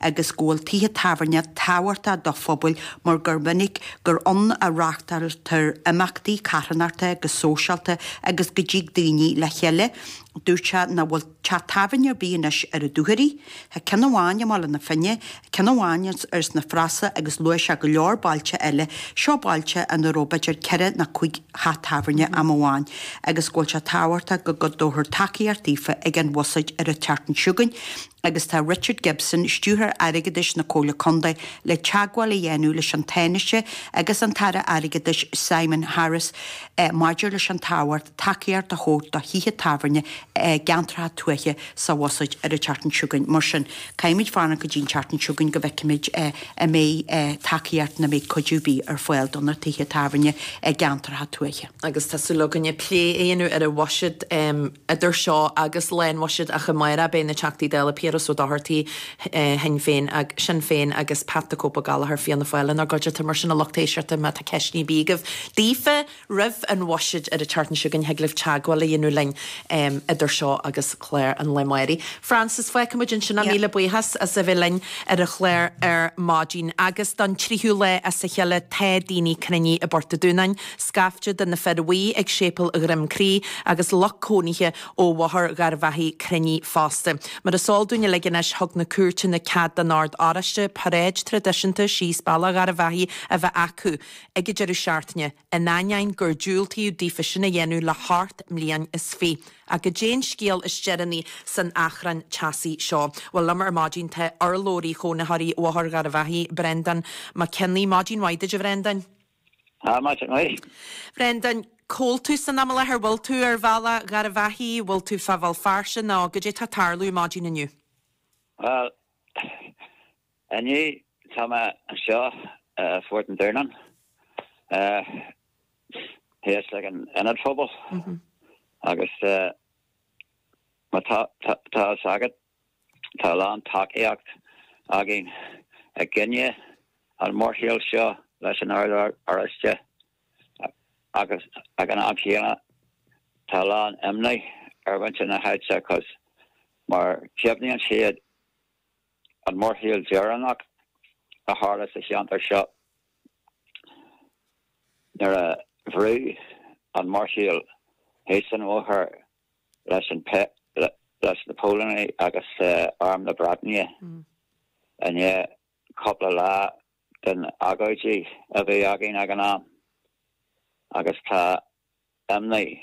agus go bhfuil tithe tábhairne tábhachtach do phobail mar gur minic gur ann a reáchtáiltear imeachtaí carthanachta agus sóisialta agus go dtig daoine le chéile. Dúirt sé nach bhfuil teach tábhairne ar bith anois ar an Dúchoraidh. Tá ceann amháin i mBaile na Finne, ceann amháin ar sna Frasa agus luaigh sé go leor bailte eile. Seo bailte ina raibh b'fhéidir ceithre nó cuig theach tábhairne am amháin agus go bhfuil sé tábhachtach go dtabharfar tacaíocht daofa ag an bhuiséad ar an tseachtain seo chugainn agus tá Richard Gibson, Stiúrthóir Airgeadais na Comhairle Contae, le teagmháil a dhéanamh leis an Tánaiste agus an tAire Airgeadais Simon Harris maidir leis an tábhacht tacaíocht a thabhairt do thithe tábhairne i gceantracha tuaithe sa bhuiséad ar an tseachtain seo chugainn. Mar sin, caithfimid fanacht go dtí an tseachtain seo chugainn go bhfeicfimid an mbeidh tacaíocht nó an mbeidh cuidiú ar bith ar fáil do na tithe tábhairne i gceantracha tuaithe. Agus tá súil againne plé a dhéanamh ar an bhuiséad idir seo agus lá an bhuiséid ach amárach beidh na Teachtaí Dála Piaras Ó Dochartaigh, Shinn Féin, Sinn Féin agus Pat the Cope Ó Gallchóir, Fianna Fáil, inár gcuideachta. Mar sin a lucht éisteachta má tá ceisteanna ar bith agaibh daofa, Roimh an bhuiséad ar an tseachtain seo chugainn, thig libh teagmháil a dhéanamh linn idir seo agus clár an lae amárach. Frances, fágfaidh muid ansin é. Míle buíochas as a bheith linn ar an chlár ar maidin. Agus don tríú lá as a chéile tá daoine cruinnithe i bPort an Dúnáin, scaifte de na fir bhuí ag Séipéal Dhroim Crí agus lucht cónaithe ó Bhóthar Gharbhachaidh cruinnithe fosta. Mar is eol dúinn uilig anois, thug na cúirteanna cead don Ord Oráiste paráid traidisiúnta síos Bealach Gharbhachaidh a bheith acu. ag an deireadh seachtaine, in ainneoin gur diúltaíodh daofa sin a dhéanamh le hocht mbliain is fiche. Ach goidé an scéal is deireanaí san achrann teasaí seo? Bhuel, liom ar maidin tá urlabhraí chónaitheoirí Bhóthar Gharbhachaidh, Breandán Mac Cionnaith. Maidin mhaith duit, a Bhreandáin. Tá, maidin mhaith. Bhreandáin, cá bhfuil tú san am i láthair? Bhfuil tú ar Bhealach Gharbhachaidh? Bhfuil tú fá Bhéal Feirste nó goidé tá ag tarlú maidin inniu? Bhuel, Inniu tá mé anseo i Phort an Dúnáin, thíos ag an Ionad Phobail agus má tá a fhios agat tá a lán tacaíocht againn i gcoinne an mhórshiúil seo leis an Ord Oráiste agus ag an am chéanna tá a lán imní ar mhuintir na háite cos mar cuimhníonn siad an mórshiúl deireanach a tharla sa cheantar seo nuair a bhrúdh an mórshiúl thíos an bhóthar leis an leis na póilíní agus Arm na Breataine i ndiaidh cúpla lá den agóidí a bhí againn ag an am agus tá imní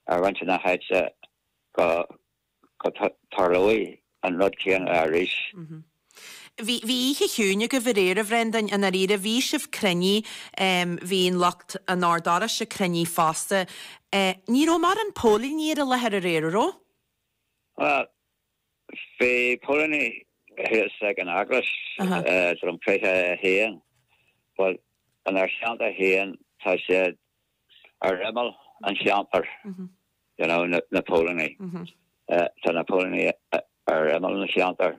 ar mhuintir na háite go go dtarlóidh an rud céanna arís. Bhí, bhí oíche chiúin agaibh aréir, a Bhrendain, i ndáiríre. Bhí sibh cruinnithe, bhí an lucht an Ord Oráiste cruinnithe fosta. Ní raibh mórán póilíní ar an láthair aréir, an raibh? Bhuel, bhí póilíní thíos ag an eaglais, Droim Críche 1, but inár cheantar féin tá siad ar imeall an cheantair. you know, na póilíní. Tá na póilíní ar imeall an cheantair.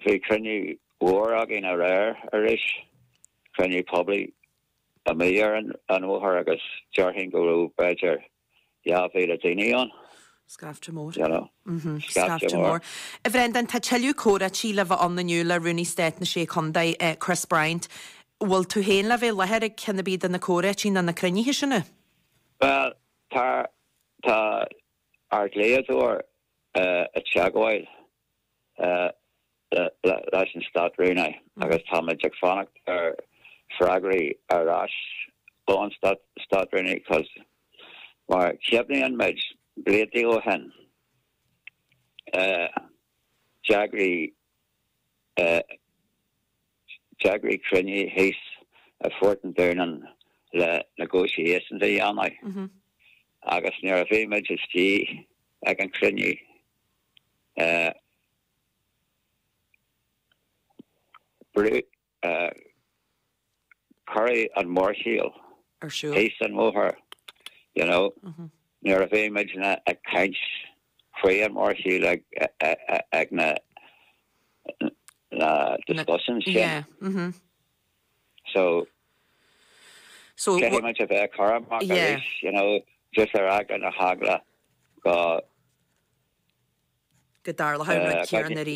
Bhí cruinniú mhór againn aréir arís, cruinniú poiblí amuigh ar an bhóthar agus déarfainn go raibh b'fhéidir 2,000 daoine ann. Scaifte mór. You know. Scaifte mór. A Bhrendan, tá tuilleadh comhráití le bheith ann inniu le Rúnaí Stáit na Sé Chontae, Chris Bryant. Bhfuil tú féin le bheith i láthair ag ceann ar bith de na comhráití nó na cruinnithe sin? Bhuel, tá, tá ár dlíodóir i dteagmháil leis an Stát-Rúnaí agus táimid ag fanacht ar freagraí ar ais ón Stát-Rúnaí cos mar cuimhníonn muid blianta ó shin d'eagraigh D'eagraigh cruinniú thíos i Phort an Dúnáin le negotiations a dhéanamh agus nuair a bhí muid istigh ag an chruinniú cuireadh an mórshiúl thíos an bhóthar you know nuair a bhí muidne ag caint faoi an mórshiúl ag ag na na discussions sin. So caithfidh muid a bheith cúramach arís you know just ar eagla na heagla go go dtarlódh an rud céanna arís.